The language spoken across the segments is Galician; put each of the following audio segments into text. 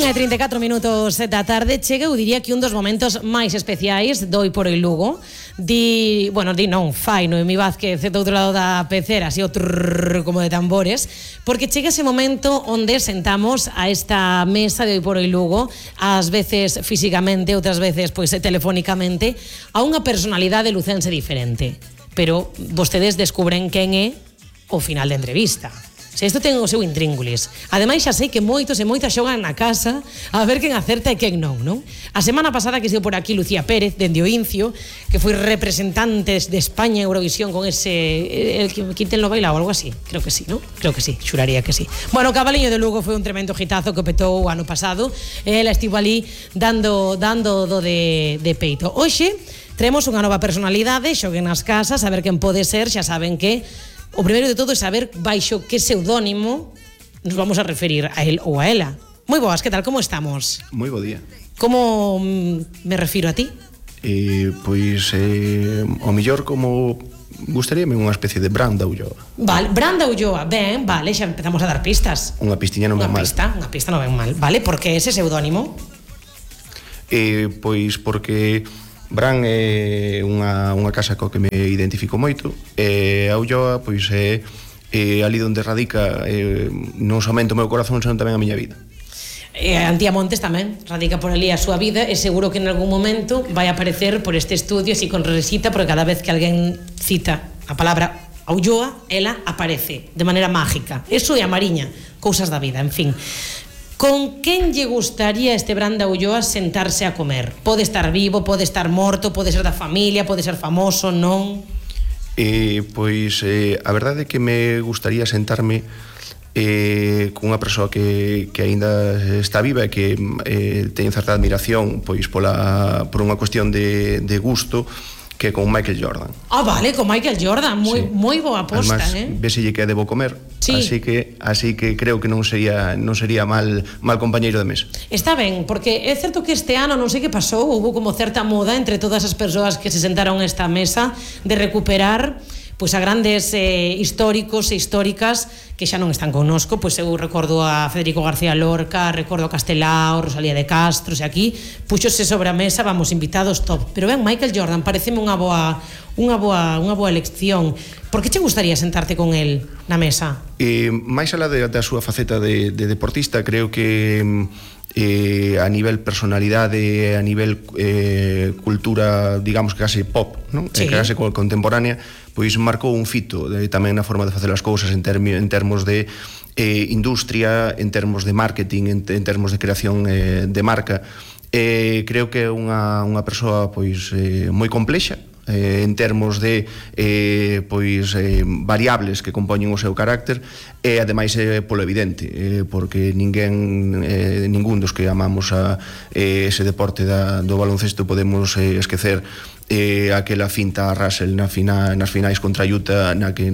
1:34 da tarde chega, eu diría que un dos momentos máis especiais do Hoy por Hoy Lugo. Fai Noemí Vázquez do outro lado da pecera, así o trrr, como de tambores, porque chega ese momento onde sentamos a esta mesa de Hoy por Hoy Lugo, ás veces físicamente, outras veces pois telefónicamente, a unha personalidade lucense diferente. Pero vostedes descubren quen é ao final da entrevista. Se isto ten o seu intríngulis. Ademais, xa sei que moitos e moitas xogan na casa a ver quen acerta e quen non, non? A semana pasada que estivo por aquí Lucía Pérez, dende o Incio, que foi representante de España en Eurovisión con ese... Quinten lo baila ou algo así? Creo que sí, non? Creo que sí, xuraría que sí. Bueno, o Cabaliño de Lugo foi un tremendo hitazo que petou o ano pasado. Ela estivo ali dando do de peito. Hoxe, traemos unha nova personalidade, xoguen nas casas, a ver quen pode ser, xa saben que... O primeiro de todo é saber baixo que pseudónimo nos vamos a referir a él ou a ela. Moi boas, que tal, como estamos? Moi bo día. Como me refiro a ti? O mellor como gustaríame unha especie de Branda Ulloa. Vale, Branda Ulloa, ben, vale, xa empezamos a dar pistas. Unha pistiña non ven mal. Unha pista non ven mal, vale, por que ese pseudónimo? Pois porque... Bran é unha casa coa que me identifico moito e a Ulloa pois é ali onde radica non somente o meu corazón, senón tamén a miña vida. Antía Montes tamén radica por ali a súa vida e seguro que en algún momento vai aparecer por este estudio así con risita, porque cada vez que alguén cita a palabra Ulloa, ela aparece de maneira mágica. Eso é a Mariña, cousas da vida, en fin. Con quen lle gustaría este Branda Ulloa sentarse a comer? Pode estar vivo, pode estar morto, pode ser da familia, pode ser famoso, non? A verdade é que me gustaría sentarme con unha persoa que aínda está viva e que teño certa admiración pois por unha cuestión de gusto, que con Michael Jordan. Ah, vale, con Michael Jordan, moi boa aposta, además, veselle que debo comer, sí. así que creo que non sería mal compañeiro de mesa. Está ben, porque é certo que este ano non sei que pasou, houve como certa moda entre todas as persoas que se sentaron a esta mesa de recuperar pois a grandes históricos e históricas que xa non están connosco, pois eu recordo a Federico García Lorca, recordo a Castelao, Rosalía de Castro, e aquí puxose sobre a mesa, vamos, invitados top. Pero ben, Michael Jordan, pareceme unha boa elección. Por que che gustaría sentarte con el na mesa? Mais alá da súa faceta de deportista, creo que a nivel personalidade, a nivel cultura, digamos que case pop, non? Sí. Case contemporánea, pois marcou un fito tamén na forma de facer as cousas en termos de industria, en termos de marketing, en termos de creación de marca. Creo que é unha persoa pois moi complexa en termos de variables que compoñen o seu carácter e ademais polo evidente, porque ningún dos que amamos ese deporte do baloncesto podemos esquecer aquela finta a Russell nas finais contra Utah, na que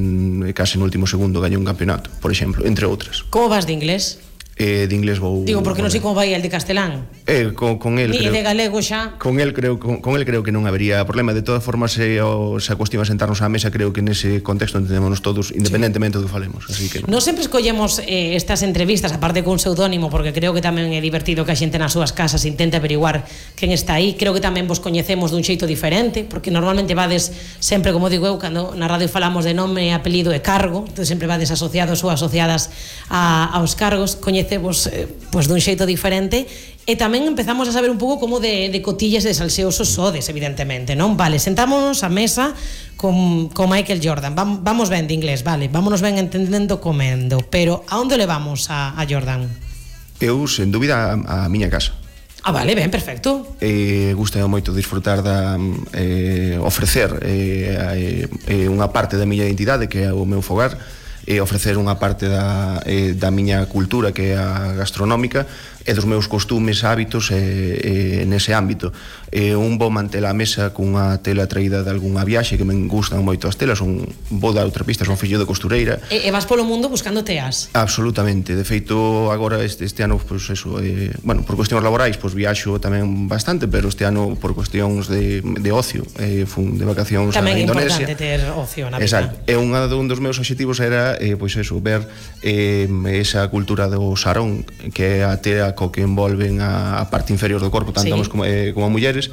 case no último segundo gañou un campeonato, por exemplo, entre outras. Como vas de inglés? De inglés vou... Digo, porque non sei como vai el de castelán. Con el creo... E de galego xa... Con el creo que non habería problema. De todas formas, se a cuestión a sentarnos á mesa, creo que nese contexto entendémonos todos, independentemente do que falemos. Así que... Non sempre escollemos estas entrevistas, aparte con pseudónimo, porque creo que tamén é divertido que a xente nas súas casas intente averiguar quen está aí. Creo que tamén vos coñecemos dun xeito diferente, porque normalmente vades sempre, como digo eu, cando na radio falamos de nome, apelido e cargo, entón sempre vades asociados ou asociadas aos cargos, coñecemos pois dun xeito diferente e tamén empezamos a saber un pouco como de cotillas e de salseosos sodes, evidentemente, non? Vale, sentámonos á mesa con Michael Jordan, vamos ben de inglés, vale, vámonos ben entendendo comendo, pero a onde levamos a Jordan? Eu, sen dúbida, a miña casa. Ah, vale, ben, perfecto. Gusta moito disfrutar ofrecer unha parte da miña identidade, que é o meu fogar, ofrecer unha parte da miña cultura, que é a gastronómica, e dos meus costumes, hábitos nese ámbito. Un vou manter a mesa cunha tela traída de algunha viaxe, que me gustan moito as telas, vou dar outra pista, son fillo de costureira. E vas polo mundo buscando teas? Absolutamente, de feito agora este ano, pois eso, por cuestións laborais, pois viaxo tamén bastante, pero este ano por cuestións de ocio, fun de vacacións a Indonesia. Tamén é importante ter ocio na vida. Exacto, e un dos meus obxectivos era pois eso, ver esa cultura do sarón, que é a tea co que envolven a parte inferior do corpo, tanto homens como mulleres,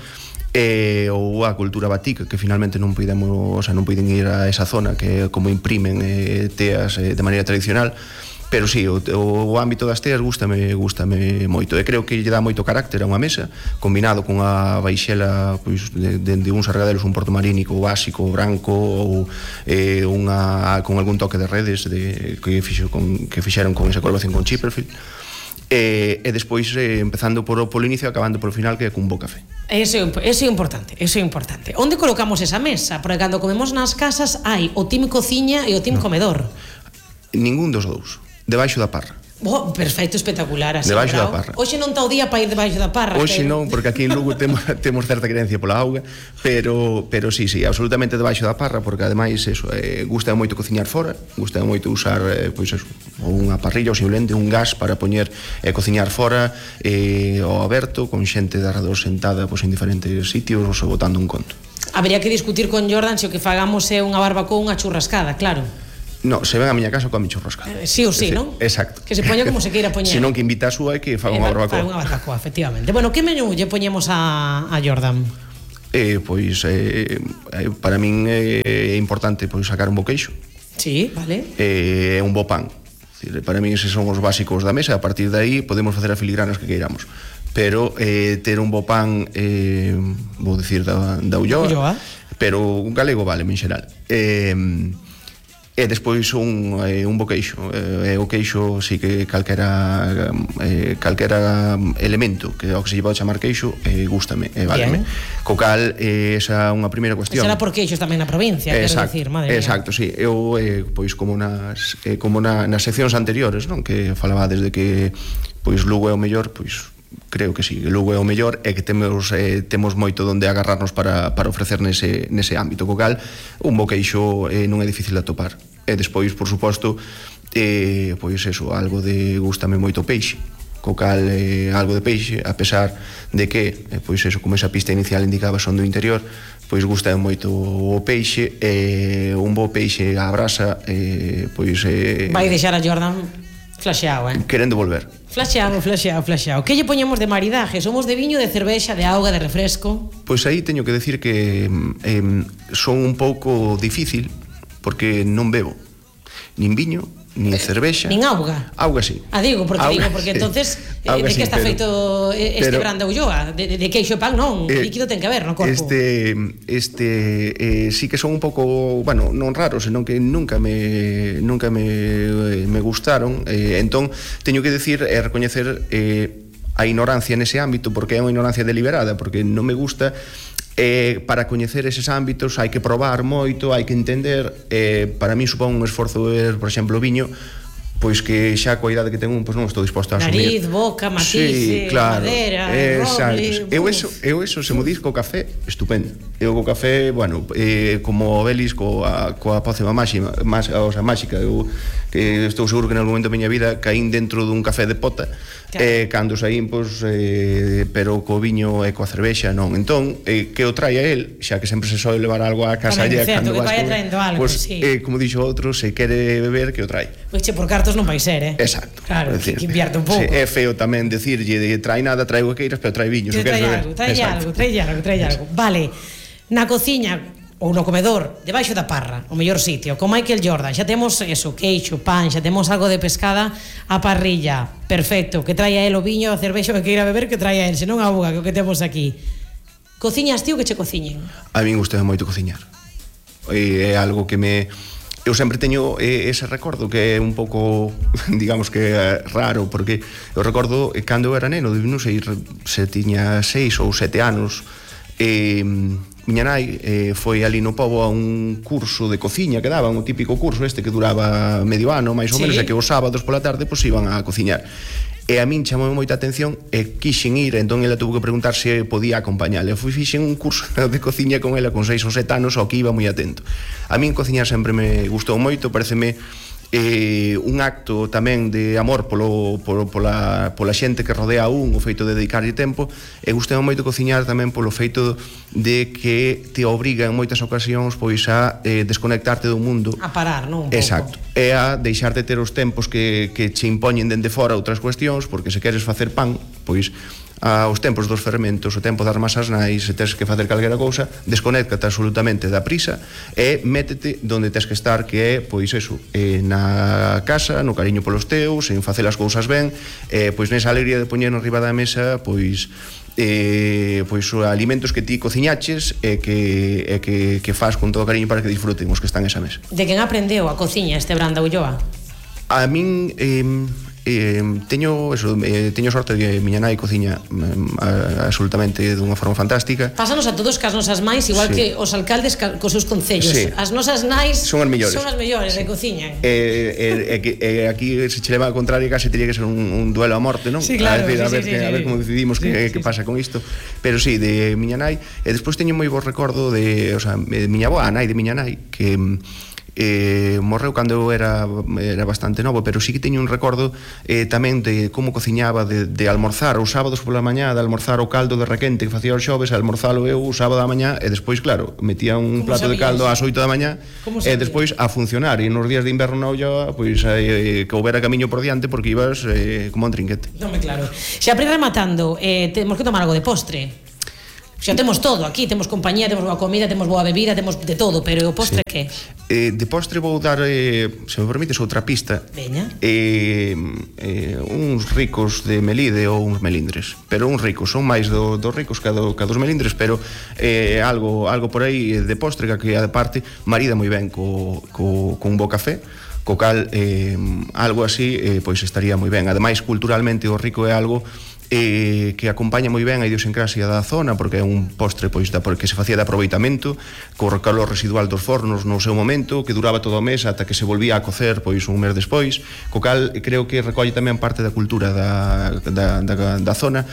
ou a cultura batik, que finalmente non podemos, non poden ir a esa zona, que é como imprimen teas de maneira tradicional. Pero sí, o ámbito das teas gústame moito, e creo que lle dá moito carácter a unha mesa, combinado con a baixela, pois, de uns argadelos, un portomarínico básico, branco, ou con algún toque de redes que fixeron con esa colaboración con Chipperfield, e despois empezando polo inicio e acabando polo final, que é cun bo café. Eso é importante. Onde colocamos esa mesa? Porque cando comemos nas casas hai o team cociña e o team comedor. Ningún dos dous. Debaixo da parra. Perfecto, espectacular, así, debaixo da parra. Hoxe non está o día para ir debaixo da parra. Hoxe non, porque aquí en Lugo temos certa creencia pola auga, pero sí, absolutamente debaixo da parra, porque ademais eso, gusta moito cociñar fora, gusta moito usar pois eso, unha parrilla ou simplemente un gas para poñer e cociñar fora, ao aberto, con xente de arredor sentada pois en diferentes sitios ou botando un conto. Habría que discutir con Jordan se o que fagamos é unha barbacoa ou unha churrascada, claro. No, se ven a miña casa coa miño roscada. Sí ou sí, non? Exacto. Que se poña como se queira poñer. Se non que invita a súa e que faga unha barbacoa. Faga unha barbacoa, efectivamente. Bueno, que menú lle poñemos a Jordan? Pois, para min é importante pois sacar un bo queixo. Sí, vale. E un bo pan. Para min eses son os básicos da mesa, a partir de aí podemos facer as filigranas que queiramos. Pero ter un bo pan, vou dicir da Ulloa, pero un galego vale, en xeral. E despois un bo queixo, o queixo sí que calquera elemento que ao que se lle pode chamar queixo gústame, váleme. Co cal, esa é unha primeira cuestión. Será por queixos tamén na provincia, quero dicir, madre mía. Exacto, sí. Eu, pois, como nas seccións anteriores, non, que falaba desde que pois Lugo é o mellor, pois creo que sí, Lugo é o mellor e que temos moito onde agarrarnos para ofrecer nese ámbito, co cal un bo queixo non é difícil de atopar. E despois, por suposto, pois eso, algo de gústame moito peixe, co cal algo de peixe, a pesar de que, pois eso, como esa pista inicial indicaba, son do interior, pois gusta moito o peixe, un bo peixe á brasa, pois vai deixar a Jordan flasheado, querendo volver. Flasheado. Que lle poñemos de maridaje? Somos de viño, de cervexa, de auga, de refresco? Pois aí teño que decir que son un pouco difícil, porque non bebo nin viño, nin cervexa, nin auga. Auga sí. Porque entonces de que está feito este brand de Ulloa? De queixo e pan non, líquido ten que haber no corpo. Sí que son un pouco, bueno, non raros, senón que nunca me gustaron, entón teño que decir e recoñecer a ignorancia nese ámbito, porque é unha ignorancia deliberada, porque non me gusta. Para coñecer eses ámbitos hai que probar moito, hai que entender. Para mí supón un esforzo ver, por exemplo, o viño, pois que xa coa idade que tengo, pois non estou disposto a asumir. Nariz, boca, matice, madera, roble. Eu eso, se mo dis co café, estupendo. Eu co café, bueno, como Belis coa pócima máxica, eu que estou seguro que en algún momento da miña vida caín dentro dun café de pota. Cando saín, pois, pero co viño e coa cervexa non. Entón, que o traia el, xa que sempre se soe levar algo a casa lle cando vas algo, pois, como dixo outro, se quere beber, que o trai. Pois che, por cartos non vai ser, Exacto. Claro, que invierte un pouco. É feo tamén decirlle de trai nada, trai o que queiras, pero trai viño, se queres beber. Trai algo. Vale, na cociña ou no comedor, debaixo da parra, o mellor sitio, con Michael Jordan, xa temos eso, queixo, pan, xa temos algo de pescada a parrilla, perfecto, que traia el o viño, a cervexa que queira beber, que traia el, senón a auga, que o que temos aquí. Cociñas ti ou que che cociñen? A min gusta moito cociñar. É algo que eu sempre teño ese recordo que é un pouco, digamos que raro, porque eu recordo cando eu era neno, non sei se tiña 6 ou 7 anos, miña nai foi ali no pobo a un curso de cociña que daban, o típico curso este que duraba medio ano, máis ou menos, e que os sábados pola tarde pois iban a cociñar. E a min chamou moita atención e quixen ir, entón ela tuvo que preguntar se podía acompañarle. Fixen un curso de cociña con ela con 6 ou 7 anos, ao que iba moi atento. A min cociñar sempre me gustou moito, pareceme un acto tamén de amor pola xente que rodea a un, o feito de dedicarlle tempo, e gustei moito cociñar tamén polo feito de que te obriga en moitas ocasións pois a desconectarte do mundo. A parar, non? Un pouco. Exacto. é a deixar de ter os tempos que che impoñen dende fora outras cuestións, porque se queres facer pan, pois os tempos dos fermentos, o tempo das masas nais, se tens que facer calquera cousa, desconéctate absolutamente da prisa e métete donde tens que estar, que é, pois eso, na casa, no cariño polos teus, en facer as cousas ben, pois nesa alegría de poñer arriba da mesa, pois os alimentos que ti cociñaches e que faz con todo cariño para que disfruten os que están nesa mesa. De quen aprendeu a cociña este Branda Ulloa? A min teño sorte de que miña nai cociña absolutamente dunha forma fantástica. Pásanos a todos que as nosas mães, igual que os alcaldes cos seus concellos, as nosas nais son as mellores de cociña. Aquí se che leva a contraria, case teria que ser un duelo a morte, non? Sí, claro, a ver como decidimos que pasa con isto. Pero sí, de miña nai, e despois teño moi bo recordo de miña avó, a nai de miña nai, que morreu cando eu era bastante novo, pero sí que teño un recordo tamén de como cociñaba, de almorzar os sábados pola mañá, de almorzar o caldo de requente que facía os xoves, almorzalo eu o sábado da mañá, e despois, claro, metía un plato de caldo ás 8 da mañá e despois a funcionar, e nos días de inverno na olla, pois que houbera camiño por diante, porque ibas como un trinquete. Non, claro. Xa para ir rematando, temos que tomar algo de postre. Xa temos todo aquí, temos compañía, temos boa comida, temos boa bebida, temos de todo, pero o postre que? De postre vou dar, se me permites, outra pista. Veña. Uns ricos de Melide ou uns melindres, pero uns ricos, son máis dos ricos que dos melindres, pero algo por aí de postre que a parte marida moi ben con bo café, co cal algo así pois estaría moi ben. Ademais, culturalmente o rico é algo que acompaña moi ben a idiosincrasia da zona, porque é un postre pois porque se facía de aproveitamento, co calor residual dos fornos no seu momento, que duraba todo o mes ata que se volvía a cocer pois un mes despois, co cal creo que recolle tamén parte da cultura da zona,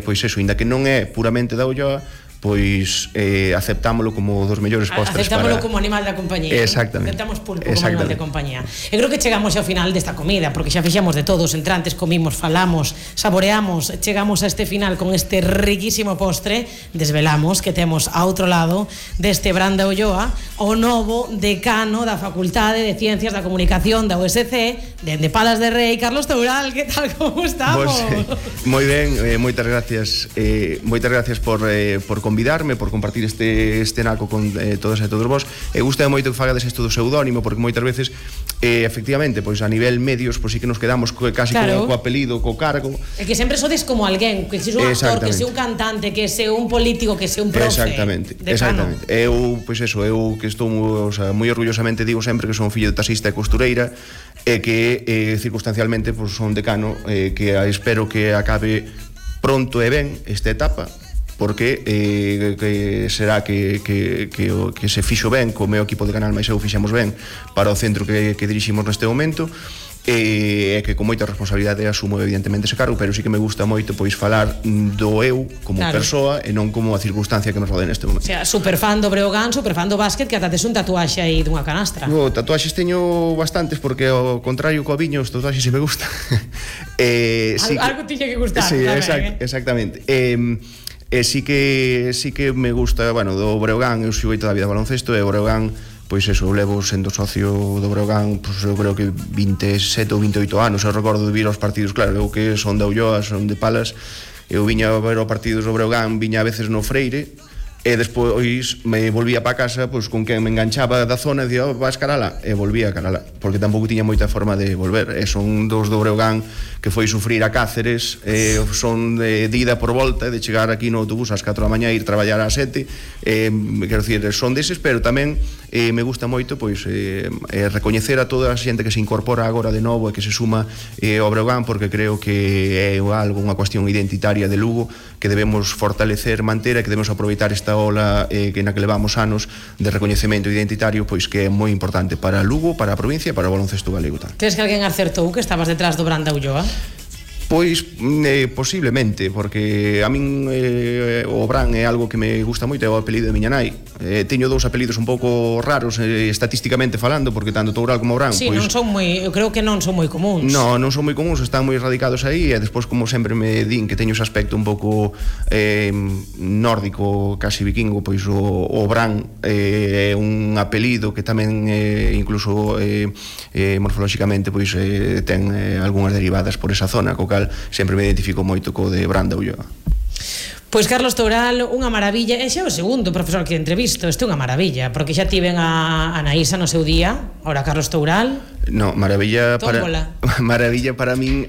pois eso, inda que non é puramente da Ulloa, pois aceptámolo como dos mellores postres. Aceptámolo como animal da compañía. Exactamente. Aceptamos pulpo como animal de compañía. Eu creo que chegamos ao final desta comida, porque xa fixamos de todos, entrantes, comimos, falamos, saboreamos, chegamos a este final con este riquísimo postre, desvelamos que temos a outro lado deste Branda Ulloa o novo decano da Facultade de Ciencias da Comunicación da USC, dende Palas de Rei, Carlos Toural. Que tal, como estamos? Moi ben, moitas gracias por convidarme, por compartir este naco con todos e todos vos. Gusta moito que fagades isto do pseudónimo, porque moitas veces efectivamente, pois a nivel medios, pois sí que nos quedamos casi co apelido, co cargo. É que sempre sodes como alguén, que se un actor, que se un cantante, que se un político, que se un profe. Exactamente. Eu, pois eso, eu que estou moi orgullosamente digo sempre que son fillo de taxista e costureira, e que circunstancialmente pois son decano, que espero que acabe pronto e ben esta etapa, porque será que se fixo ben co meu equipo de Canal Mais eu fixemos ben para o centro que diriximos neste momento, e que con moita responsabilidade asumo evidentemente ese cargo, pero sí que me gusta moito pois falar do eu como persoa e non como a circunstancia que me rodea neste momento. O sea, superfan do Breogán, superfan do básquet, que ata tes un tatuaxe aí dunha canastra. Tatuaxes teño bastantes, porque ao contrario co viño, os tatuaxes si me gusta. Algo tiña que gustar. Sí, exactamente. Sí que me gusta, bueno, do Breogán, eu xoguei toda a vida baloncesto, e o Breogán, pois eso, eu levo sendo socio do Breogán, pois eu creo que 27 ou 28 anos, eu recordo de vir aos partidos, claro, eu que son da Ulloa, son de Palas, eu viña a ver os partidos do Breogán, viña a veces no Freire, e despois me volvía para casa pois con quen me enganchaba da zona e dicía, vas carala, e volvía a carala, porque tampouco tiña moita forma de volver, e son dos do Breogán que foi sufrir a Cáceres, son de ida por volta, de chegar aquí no autobús ás 4 da mañá e ir traballar ás 7, quero dicir, son deses, pero tamén me gusta moito pois recoñecer a toda a xente que se incorpora agora de novo e que se suma ao Breogán, porque creo que é algo, unha cuestión identitaria de Lugo que debemos fortalecer, manter, e que debemos aproveitar esta ola na que levamos anos de recoñecemento identitario, pois que é moi importante para Lugo, para a provincia e para o baloncesto galego. Crees que alguén acertou que estabas detrás do Branda Ulloa? Pois posiblemente, porque a min o Bran é algo que me gusta moito, é o apelido de miña nai, teño dous apelidos un pouco raros estatísticamente falando, porque tanto Toural como Obrán, sí, non son moi, eu creo que non son moi comuns. Non son moi comuns, están moi radicados aí, e despois, como sempre me din que teño ese aspecto un pouco nórdico, casi vikingo, pois o Obrán é un apelido que tamén incluso morfolóxicamente pois ten algunhas derivadas por esa zona, co cal sempre me identifico moito co de Branda Ulloa. Pois Carlos Toural, unha maravilla. E xa o segundo profesor que entrevisto. Este é unha maravilla, porque xa tiven a Anaísa no seu día. Ora Carlos Toural. No, maravilla para min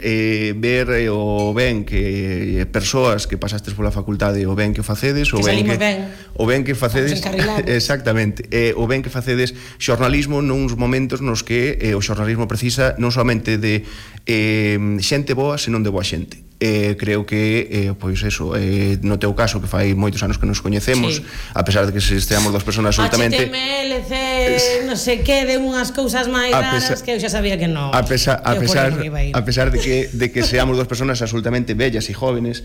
ver o ben que persoas que pasastes pola facultade, o ben que facedes, o ben que facedes exactamente, o ben que facedes xornalismo nuns momentos nos que o xornalismo precisa non somente de xente boa, senón de boa xente. Creo que, pois eso, no teu caso, que fai moitos anos que nos coñecemos, a pesar de que esteamos dos personas absolutamente HTML, non sei que, de unhas cousas máis raras que eu xa sabía que non. A pesar de que seamos dos personas absolutamente bellas e jóvenes,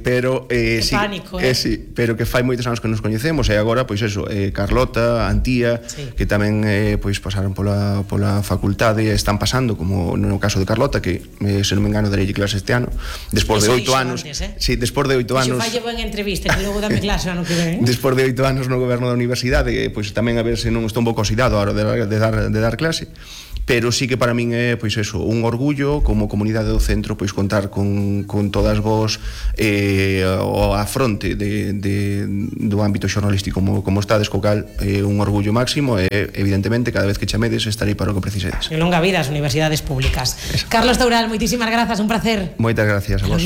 pero sí, pánico, sí, pero que fai moitos anos que nos coñecemos, e agora, pois eso, Carlota, Antía, que tamén pois pasaron pola facultade e están pasando, como no caso de Carlota, que se non me engano darei clase este ano. Despois de 8 anos, sí, despois de 8 anos. Iso falle boa entrevista, que logo dame clase ano que ven. Despois de 8 anos no goberno da universidade, pois tamén a ver se non estou un pouco oxidado a hora de dar clase. Pero sí que para min é, pois eso, un orgullo como comunidade do centro, pois contar con todas vos a fronte do ámbito xornalístico como estades, co cal un orgullo máximo, e evidentemente cada vez que chamedes estarei para o que precisedes. En longa vida as universidades públicas. Carlos Toural, moitísimas grazas, un placer. Moitas gracias a vos.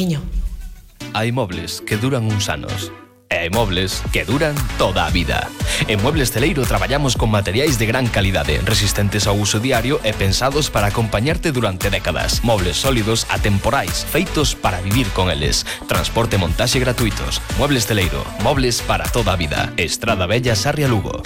Hai mobles que duran uns anos e hai mobles que duran toda a vida. En Muebles Celeiro traballamos con materiais de gran calidade, resistentes ao uso diario e pensados para acompañarte durante décadas. Mobles sólidos, atemporais, feitos para vivir con eles. Transporte e montaxe gratuitos. Muebles Celeiro, mobles para toda a vida. Estrada Bella, Sarria, Lugo.